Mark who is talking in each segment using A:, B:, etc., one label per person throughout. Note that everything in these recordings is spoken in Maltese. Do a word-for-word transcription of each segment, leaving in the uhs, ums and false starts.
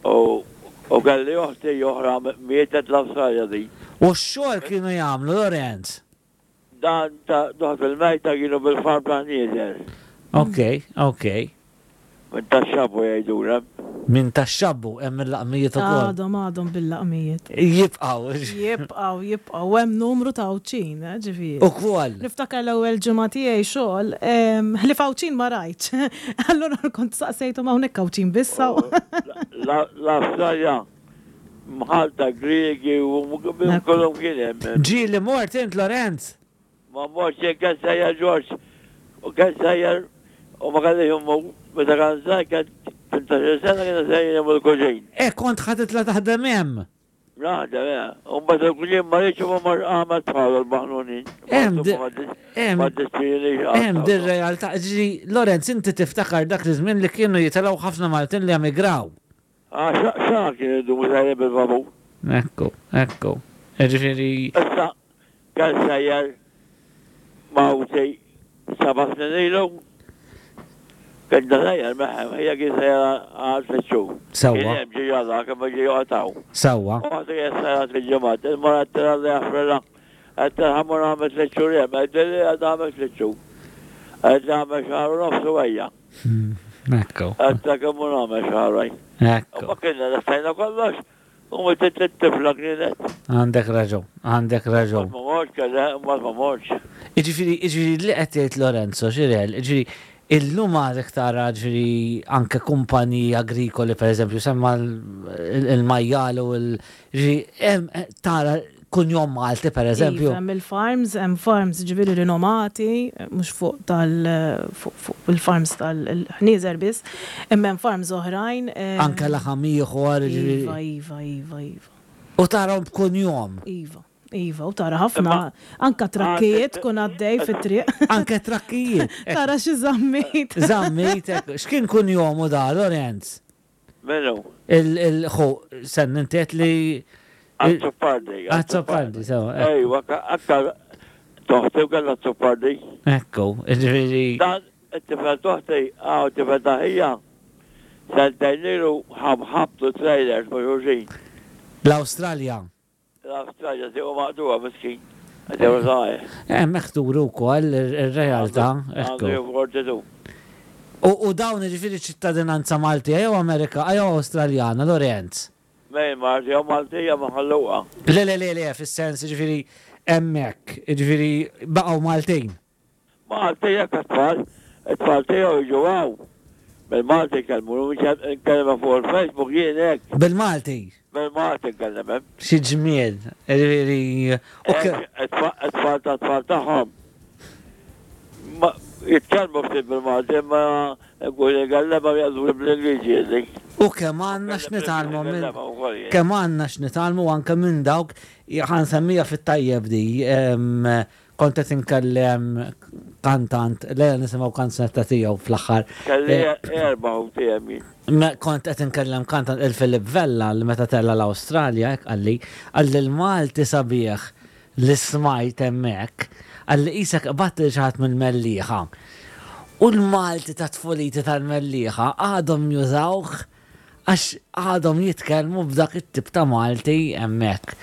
A: U u kelli oħti oħra mietet l-Awstralja di.
B: U x-xogħol kienu jagħmlu, Lorenz?
A: Dan ta' duħ fil-mejta kienu bil-farm ta' nieżel.
B: Ok, ok.
A: Minn tax-xabbu jgħidulem.
B: Minn tax-xabbu hemm il-laqmijiet ukoll.
C: Għadhom għadhom bil-laqmijiet.
B: Jibqgħu.
C: Jibqgħu, jibqgħu, hemm numru ta' Għawdxin, eh, ġifieri.
B: Ukoll.
C: Niftakar l-ewwel ġimgħa tiegħi xogħol, em, ħlief Għawdxin ma rajtx. Allura kont saqsejthom, hawnhekk Għawdxin biss hawn?
A: L-Awstralja mħallta Griegi u kollhom kien hemm.
B: Ġieli mort int, Lorenz?
A: Ma mortx jien, kien sejjer Ġorġ. U kien sejjer u ma kellix immu meta kan żgħir, kien tmintax-il sena, kien sejjer immu l-kuġin.
B: E kont ħa titla' taħdem hemm.
A: Naħdem, eh. U mbagħad il-kuġin ma rridx u ma mar għamel bħalu l-maħnunin.
B: Hemm di- hemm-
A: Ma dispini.
B: Hemm dir realtà. Ġieli, Lorenz, inti tiftakar dak iż-żmien li kienu jitilgħu ħafna Maltin li emigraw.
A: Ah, xa kien idumu sejjer bil-vapur.
B: Ekku, ekku. Ġifieri.
A: Issa, kien sejjer mawti seba' snin ilu. Kien da sejjer meħem, hija kien sejjer għal tliet xhur.
B: Sewwa.
A: Kien hemm ġi ġala, kemm ġi joqgħod.
B: Sewwa.
A: U għadu kien sejjer għal tliet ġimgħat. Il-mara tira li jaffrila. Għedt ħa mmur għamel tliet xhur hemm. Għedt li għad għamel tliet xhur. Għedt li għamel xahar u nofs u ejja.
B: Ekku.
A: Għedt kemm hu nagħmel xahar.
B: Ekku.
A: U ma kienna lestajna kollox. U ma tit-tifla kienet.
B: Għandek raġun, għandek raġun.
A: Ma mortx, kellha, ma ma mortx.
B: Iġifieri, iġifieri li qed jgħid Lorenzo, Xirel, iġifieri, illum għadek tara ġifieri anke kumpaniji agrikoli, per eżempju, semma l- il-majjal u l- ġifieri, hemm tara kunjom Malti, per eżempju.
C: Iva, hemm il-farms, hemm farms ġifieri rinomati, mhux fuq tal fuq fuq il-farms tal-ħnieżer biss, imma hemm farms oħrajn. eh,
B: Anke laħam ieħor,
C: Iva,
B: ġifieri.
C: iva, iva, iva.
B: U tarahom b'kunjom.
C: Iva, iva, u tara ħafna, anka trakkijiet kun għaddej fit-triq.
B: Anke trakkijiet.
C: Tara xi Zammit.
B: Zammit, ekku. X'kien kunjomu da, Lorenz?
A: Menu?
B: Il-ħu, sen inti li.
A: Azzopardi.
B: Azzopardi, sewwa. Ekku.
A: Ejwa, aktar toħti u kellha Azzopardi.
B: Ekku, ġifieri.
A: Dan it-tifel toħti, għaw it-tifel taħija, sentejn ilu ħabtu trailers ma' xulxin.
B: L-Awstralja.
A: L-Awstralja tiegħu maqtuha miskin. Għadew zaħir.
B: Hemmhekk turu wkoll ir-realtà, ekku.
A: Għandu forty-two.
B: U u dawn ġifieri ċittadinanza Maltija jew Amerika jew Awstraljana, Lorenz?
A: Mejn Malti jew Maltija ma ħalluqa.
B: Le, le, le, le, fis-sens ġifieri hemmhekk, ġifieri baqgħu Maltin.
A: Maltija kat-tfal, it-tfal tiegħu jiġu hawn. Bil-Malti kellmu, nkellem fuq il-Facebook jien hekk.
B: Bil-Malti.
A: Bil-Malti nkellem.
B: Xi ġmiel, ġifieri. u ke-
A: It-tfal ta' tfal tagħhom. Ma jitkellmu ftit bil-Malti, imma nkun nkellem jgħidu bl-Ingliżi jgħidu.
B: U kemm għandna x'nitgħallmu minn kemm għandna x'nitgħallmu anke minn dawk, ħa nsemmija fit-tajjeb di, em, kont qed inkellem kantant, lejla nisimgħu kanzunetta tiegħu fl-aħħar.
A: Kelli
B: Eh,
A: erba' u tiegħi jien.
B: Me- Kont qed inkellem kantant il-Filip Vella li meta tella l-Awstralja hekk qalli, qalli l-Malti sabiħ li smajt hemmhekk, qalli qisek qbadt lil xi ħadd mill-Mellieħa. U l-Malti ta' tfuliti tal-Mellieħa għadhom jużawh għax għadhom jitkellmu b'dak it-tip ta' Malti hemmhekk.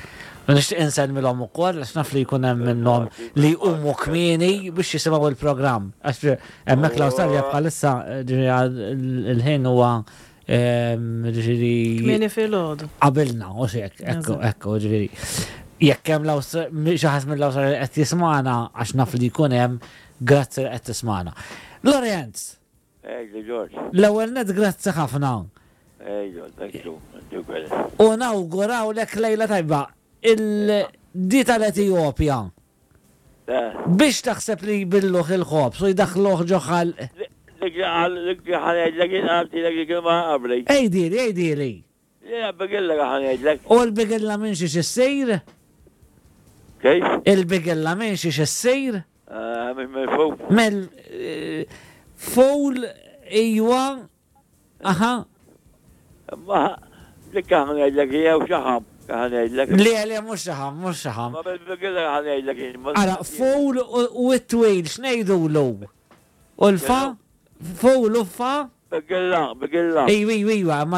B: U nixtieq insellmilhom ukoll għax naf li jkun hemm minnhom li jqumu kmieni biex jisimgħu il-programm. Għax hemmhekk l-Awstralja bħalissa ġifieri il-ħin huwa ehm, ġifieri
C: Kmieni filgħodu.
B: qabilna, u xek, ekku,
C: Eżatt.
B: ekku, ġifieri. Jekk hemm xi ħadd mill-Awstralja qed jismana, għax naf li jkun hemm, grazzi li qed tismana. Lorenz,
A: Ejju, George.
B: l-ewwel net grazzi ħafna.
A: Ejju, thank you. Thank you, very.
B: U nawgurawlek lejla tajba. Il-di tal-Etijopja.
A: Eh,
B: Biex taħseb li jbilluh il-ħobż u jdaħluh ġo ħalq.
A: Dik li għal- dik li ħa ngħidlek jien għaltilek dik il-ma qabli.
B: Ejdili, ejdili.
A: Jiena bigilla ħa ngħidlek.
B: U l-bigilla minn xiex issir?
A: Kif?
B: Il-bigilla minn xiex issir?
A: Eh, Minn minn fuq.
B: Mel eh, ful ijwa aha.
A: Ma dik ħa ngħidlek jew xaħam. Ħa ngħidlek.
B: Le, le, mhux xaħam, mhux xaħam.
A: Ma bil-bigilla ħa ngħidlek jien. Ma-
B: Ara, ful u u t-twil, x'ngħidulu? U l-fa? Ful u fa?
A: Bigilla, bigilla.
B: Ejwa, ejwa, ejwa, ma